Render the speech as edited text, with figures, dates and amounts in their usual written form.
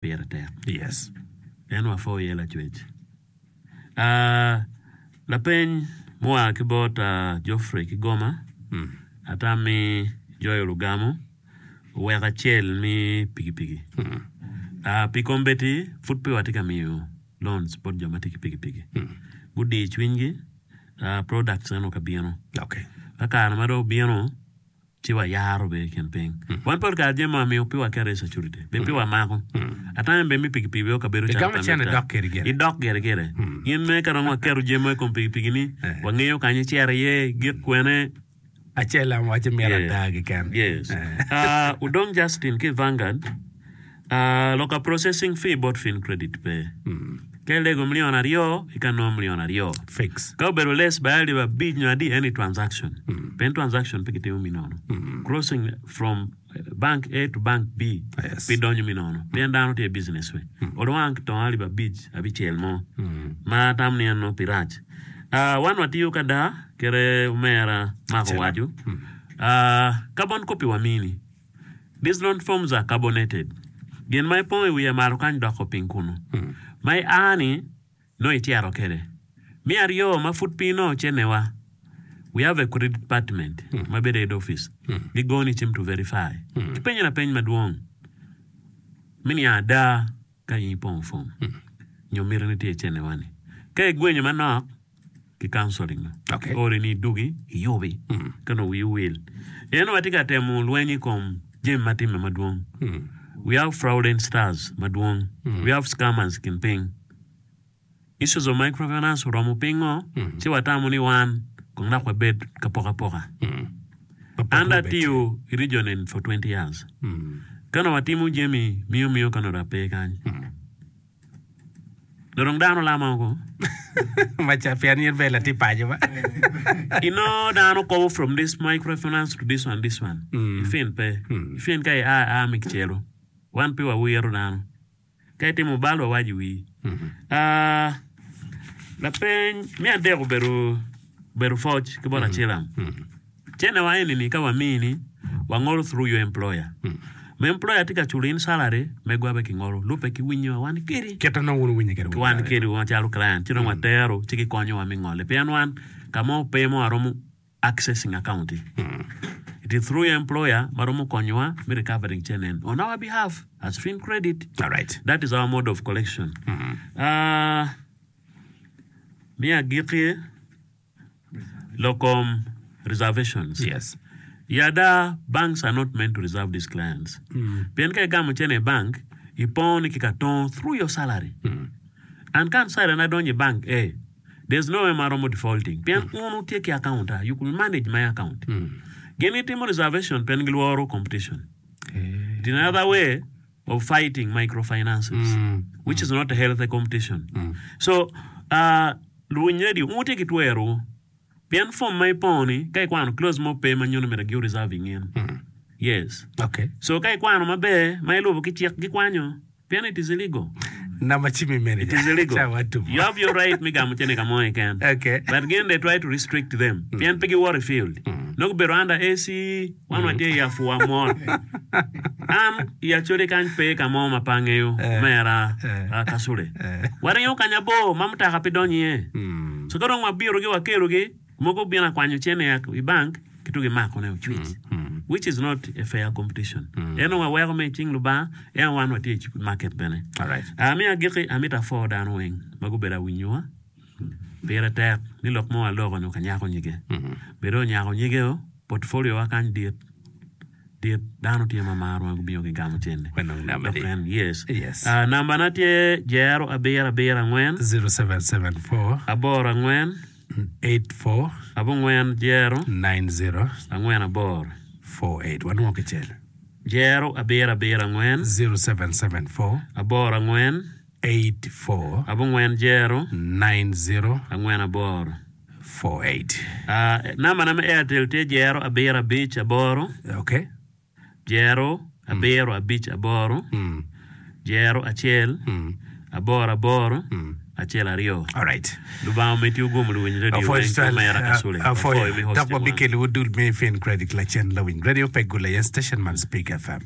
Pire tek. Yes. En wapwo iye Lacwec. Ah, lapeny mua ki bot Geoffrey ki Goma, atam mi joyo lugamo owek acel mi pikipiki. Ah, pi kombeddi pud pe watye ka miyo loans bot jo ma tye ki pikipiki. Gudi cwinygi, ah, products eno ka bino. Okay. Ka kare ma dong obino, ci wayaro bene i kin piny. Wan pol kare jami ma wamiyo pe waketo i security, be pe wamako. Atame bene mi pikipiki bene okabedo calo Igamo cene idok kede gire. Idok gire gire. In me ka dong waketo jami mo i kom pikipiki ni, wangeyo kany icito iye, igik kwene. Acel am waco mito ada keken. Yes. Udong Justin ki i Vanguard. Loka processing fee bot Fin Credit pe. Ka ilego milion aryo, ika nongo milion aryo. Fix. Ka obedo less by alip abic nyo adi eni transaction. Pien transaction pe kitimo mi nono. Crossing from bank A to bank B Yes. pe donyo mi nono. Pien dano tye i business we. Olwang ki tongo alip abic, abicel mo. Ma atamo ni en nongo pi rac. Wan watiyo ka da kite omera Mark owaco. Carbon copy wamini. These loan forms are carbonated. Gin ma ipongo i wiye malo kany doko piny kunu. Ma ia ni nongo icito kwede. Me aryo ma pud pe inongo cennewa, we have a credit department ma bedo i head office. Gigoni cim to verify. Gipenyi lapeny madwong me niang ada ka in ipongo form nyo mitini tye i cennewa-ni. Ka igwenyo manok, ki counseling no. Okay. Ori ni idugi iyubi ka nongo wii owil. En watye ka temo lweny i kom jami ma timme madwong. We have fraudulent stars madwong. We have scammers i kin piny. Issues of microfinance oromo pingo ci watamo ni wan kong dok wabed ka poko apoka. An dong atiyo i region eni for 20 years. Ka nongo watimo jami miyo miyo ka nongo dong ape kany. Dong dano lama oko. Maca pien in bene latin paco ba. Inongo dano kobo from this microfinance to this one this one. Ifin pe. Ifin ka ia a me kicelo. Wan pe wawiro dano. Ka itimo bal wawaco i wii. Ah, lapeny me adek obedo obedo pwoc ki bot Acilam. Cene wa eni ni ka wamini wangolo through your employer. Ma employer tye ka culo in salary megwa be kingolo lube ki winyo wa wan kedi. Kit ma wun wuwinyo kwede Ki wan kedi macalo client ci dong watero ci gikonyo wa me ngole pien wan ka mo pe mo waromo accessing account it is through your employer ma romo konyowa me recovering cene en on our behalf as fin credit. Alright. That is our mode of collection. Ah, me agikki Lok kom reservations. Yes. I ada, banks are not meant to reserve these clients. Pien ka igamo cene i bank, ipongo ni ki ka tongo through your salary. And ka an salary na donyo i bank, eh, there's no way ma aromo defaulting. Pien un wutye ki account a, you could manage my account. Gin gitimo reservation pien gilworo competition. It in another way of fighting microfinances, which is not a healthy competition. So, uh, Luwiny redio, wun wutye ki twerowu, pien fom ma ipongo-ni, ka ikwano clause mo pe ma nyuto ni myero gi reserve ingin. Yes. Okay. So ka ikwano maber, ma ilubo ki cik, gikwanyo, pien it is illegal. Namba cim i It is manager. illegal. Ca watumo. You have your right me gamo cene ka mo keken. Okay. But gin they try to restrict them, pien pe giwoto i field. Nongo gubedo under AC, Wan watye i apwa mot. An i Acholi kany pe ka mo ma pe angeyo, omera Kasule. Waringo kany abor ma mutoka pe donyo iye. So ka dong wabirogi wakelogi, mogo obino akwanyo cene i bank ki to gimakone ocwic. Which is not a fair competition. En dong waweko me i cing Lubanga, ento wan watye i market bene. Me agikki, amito apwo dano weng ma gubedo awinyowa. Pire tek ni lok ma waloko-ni okanyako nyige. Bed onyako nyige-o, portfolio wa kany dit dit dano tye ma maro ma gubino gigamo cente. Wanong namba Dok di. en yes. Yes. Ah, namba na tye jero abiro abiro angwen 0774 aboro angwen 84 abongwen jero 90 angwen aboro 48. Wanwongo kicel. jero abiro abiro angwen 0774 aboro angwen 84 abongwen jero 90 angwen aboro. 48. Ah, nambana me Airtel tye jero abiro abic aboro, Okay. jero abiro abic aboro, Mm. jero acel, Mm. aboro aboro, Mm. acel aryo. All right. Lubanga omeddi ogum luwiny radio Apwoyo weng ki tutwal. omera Kasule. Apwoyo. Apwoyo mi Dok hosting wan. wabikelo dul me Fin Credit lacen lawiny radio pe gule aye station man Speak FM.